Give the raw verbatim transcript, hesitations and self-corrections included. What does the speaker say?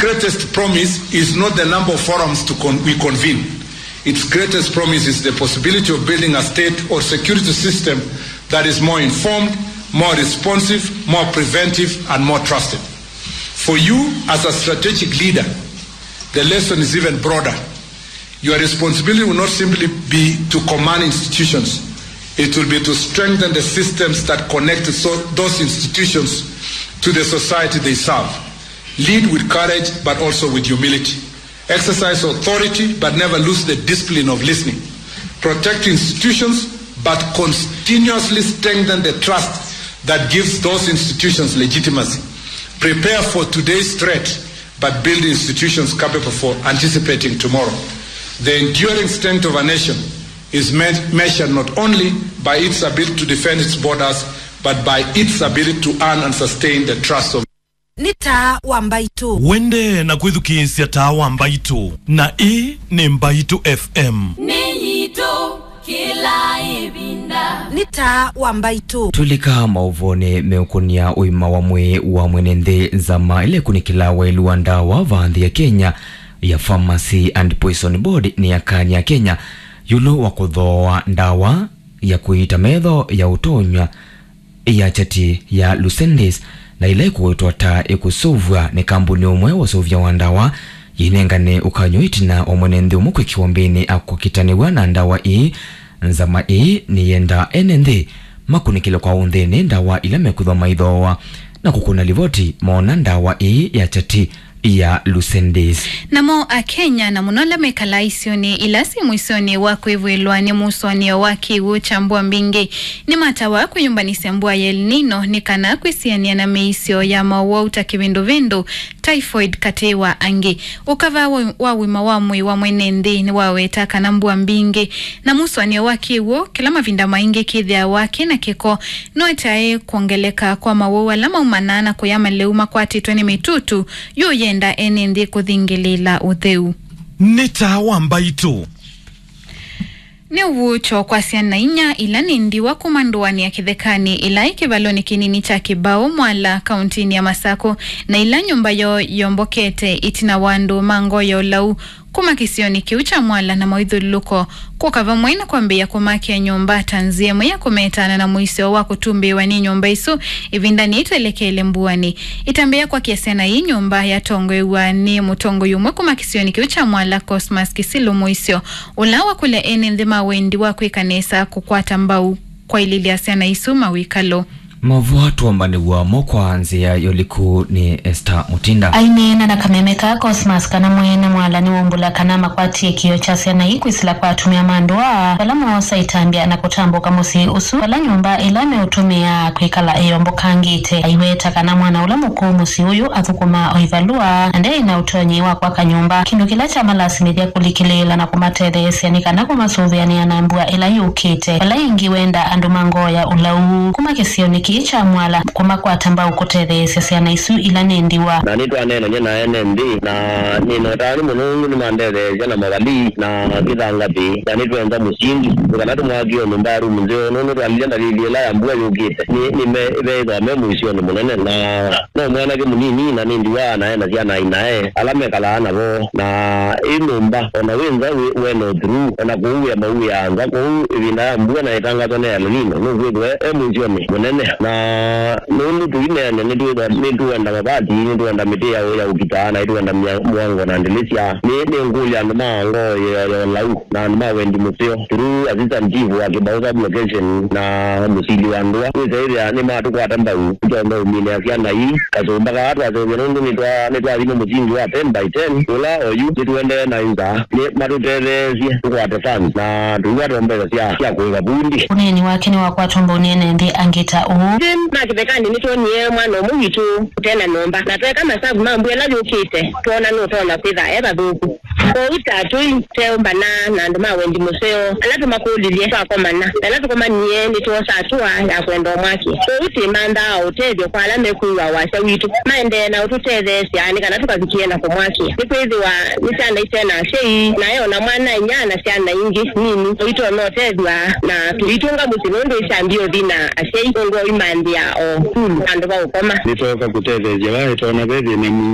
Greatest promise is not the number of forums to con- we convene. Its greatest promise is the possibility of building a state or security system that is more informed, more responsive, more preventive, and more trusted. For you, as a strategic leader, the lesson is even broader. Your responsibility will not simply be to command institutions. It will be to strengthen the systems that connect so- those institutions to the society they serve. Lead with courage, but also with humility. Exercise authority, but never lose the discipline of listening. Protect institutions, but continuously strengthen the trust that gives those institutions legitimacy. Prepare for today's threat, but build institutions capable for anticipating tomorrow. The enduring strength of a nation is me- measured not only by its ability to defend its borders, but by its ability to earn and sustain the trust of Nĩ taa wa mbaitũ. Wende na kwĩthukĩĩsya taa wa mbaitũ, na ĩĩ nĩ Mbaitũ F M. Nĩ yitũ kĩla ĩvinda. Nĩ taa wa mbaitũ. Tũlika maũvonĩ meũkũnia ũima wa mwĩĩ wa mwene nthĩ. Nzama ĩla ĩkunĩkĩlaa waĩlu wa ndawa vaa nthĩ ya Kenya ya Pharmacy and Poison Board nĩyakany'a Kenya ĩũlũ wa kũthooa ndawa ya kũiita metho ya ũtonywa ya kyati ya Lucentis, na ĩla ĩkũĩtwa ta ĩkũsũvw'a nĩ kambuni ũmwe wa ũsũvya wa ndawa, yĩinengane ũkany'o ĩtina wa mwene nthĩ ũmwe kwĩkĩwa mbĩnĩ akũkitanĩw'a na ndawa ii. Nzama ii nĩyendaa ene nthĩ makunĩkĩle kwa ũnthĩnĩ ndawa ila mekwĩthwa maithooa na kũkũna livoti moona ndawa ii ya kyati ya Lucentis. Namo Akenya, na mũno ala mekalaa isionĩ ila syĩ mũisyonĩ wa kwĩvw'ĩlwa nĩ mũsũanĩo wa kĩw'ũ kya mbua mbingĩ, nĩmatawa kwĩyũmbanĩsya mbua ya El Nino nĩ kana kwĩsianĩa na mĩisyo ya mowau ta kĩvĩndũvĩndũ, typhoid, katĩ wa angĩ. Ũkava wa, wa ũima wa mwĩĩ wa mwene nthĩ nĩwaweta kana mbua mbingĩ na mũsũanĩo wa kĩw'ũ kĩla mavinda maingĩ kĩthĩawa kĩ na kĩko nũetae kwongeleka kwa mawau ala maumanaa na kũya malĩu makwatĩtwe nĩ mĩtutu. Yu yenda ene nthĩ kũthingĩlĩĩla ũtheu. Nĩ taa wa mbaitũ. Nĩ ũvuũkyo kwa syana inya ila nĩ ndiwa kuma ndũanĩ ya Kĩthekanĩ ĩla ĩ kĩvalonĩ kĩnini kya Kĩbaũ Mwala, kauntinĩ ya Masakũ, na ila nyũmba yoo yombokete ĩtina wa andũ ma ngoo ya ũlau kuma kĩsionĩ kĩu kya Mwala na maũithyũlũlũko kũka vamwe na kwambĩĩa kũmakĩa nyũmba ta nzĩa ĩmwe ya kũmetaana na mũisyo wa kũtumbĩĩwa nĩ nyũmba isu ĩvindanĩ yĩtwelekeele mbuanĩ. Ĩtambya ya kwakĩa syana ii nyũmba yatongoew'a nĩ mũtongoi ũmwe kuma kĩsionĩ kĩu kya Mwala, Cosmas Kisilu Mũisyo, ũla wakũlya ene nthĩ ma wendi wa kwĩka nesa kũkwata mbau kwaĩlĩlya syana isu mawĩkalo. Mavũa tũombanĩw'a mo kwa nzĩa ya ũliku nĩ Esther Mutinda. Aineena na kameme ka Cosmas kana mwene Mwala nĩwaumbũla kana makwatie kĩo kya syana ii kwĩsĩla kwa atumĩa ma ndũa vala moosa ĩtambya na kũtambũka mũsyĩ ũsu, vala nyũmba ĩla meũtũmĩa kwĩkala ĩyombokangĩte. Aiweta kana mwana ũla mũkũũ mũsyĩ ũyũ athũkũmaa o ivalũa na ndeĩ na ũtonyi wa kwaka nyũmba, kĩndũ kĩla kyamalasimĩthya kũlikĩlĩĩla na kũmatetheesya nĩ kana kũmasũvĩanĩa na mbua ĩla yũkĩte. Vala ĩngĩ wenda andũ ma ngoo ya ũlau kuma kĩsionĩ kĩĩ kya Mwala kũmakwata mbau kũtetheesya syana isu ila nĩ ndiwa. Na nĩtwaneenany'a na ene nthĩ, na nĩnotaa nĩ mũnungu nĩmandetheesya na mavalii na kĩthangathĩ, na nĩtwenza mũsingi nĩ kana tũmwakĩe nyũmba ya rumu nzeo, nũndũ twalilye ndalili ĩla ya mbua yũkĩte nĩ, nĩ me, veĩthwa me mũisyonĩ mũnene, na no mwanake mũnini na nĩ ndiwa na ena syana inae ala mekalaa navo, na ĩ nyũmba ona wĩ nza wĩ, wĩ no through, ona kũu wĩa mawĩaa nza kũu ĩvinda ya mbua na ĩtangatwa nĩ El Nino, nũkwĩthwa e mũisyonĩ mũnene. Na nũndũ tũineene nĩtwĩthwa nĩtũenda mavati, nĩtũenda mĩtĩ ya, ya ũkitaa, na nĩtũenda mya-, mũango na ndĩlĩsya. Nĩ, nĩngũlya andũ ma ngoo ya, ya ũlau na andũ ma wendi mũseo through assistant chief wa Kĩbaũ sub location na mũsili wa ndũa, wĩsa ĩthĩa nĩmatũkwata mbau, nĩtwaũmĩnĩa syana ii kasũmba kaa twaseũvya, nũndũ nĩtwa-, nĩtwathima mũsingi wa ten by ten ũla oyu nĩtũendee na nza. Nĩ matũtetheesye tũkwate funds na tũiwa twa mbesa sya, sya kũĩva vundi. Ũneeni wake nĩwakwatwa mbau nĩ ene nthĩ angĩ ta ũũ. Nthĩ ma Kĩthekanĩ nĩtwonie mwana ũmwe witũ ũte na nyũmba, na tweka masavu ma mbua ĩla yũkĩte, twoona nũtonya kwĩtha e vathũku. Kwoou ta tũiteũmbana na andũ ma wendi mũseo ala tũmakũlilye twakomana, na ĩla tũkomanie nĩtwosa atũa ya kwenda ũmwakĩa. Kwoou twĩmanthaa ũtethyo kwa ala mekwĩw'a wasya witũ maendee na ũtũtetheesya nĩ kana tũkavikĩe na kũmwakĩa. Nĩkwĩthĩwa nĩ syana ite na asyai, na e o na mwana-a-inyia na syana ingĩ nini, ũitonya ũtethw'a na tũitũnga mũsyĩ nũndũ ĩkyambie ũthi na asyai nũndũ wa ũimanthĩa o sukulu, vandũ va ũkoma. Nĩtwooka kũtetheesya vaa ĩtonya ve thĩna mwingĩ.